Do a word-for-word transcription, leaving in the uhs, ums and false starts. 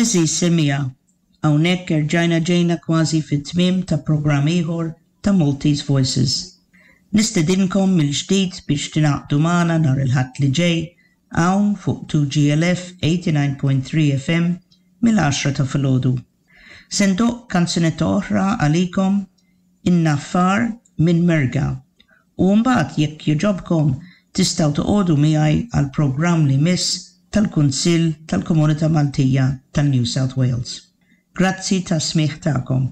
Għeżież semmiegħa, hawnhekk erġajna ġejna kważi fit-tmiem ta' programm ieħor ta' Maltese Voices. Nistedinkom mill-ġdid biex tingħaqdu magħna nhar il-Ħadd li ġej hawn fuq two G L F eighty-nine point three F M mill-għaxra ta' filgħodu. Se ndoqq kanzunetta oħra għalikom, In-Naffar minn Merga. U mbagħad, jekk jogħġobkom, tistgħu toqogħdu miegħi għal programm li jmiss tal-Kunsill tal-Komunità Maltija tal-New South Wales. Grazzi tas-smigħ tagħkom.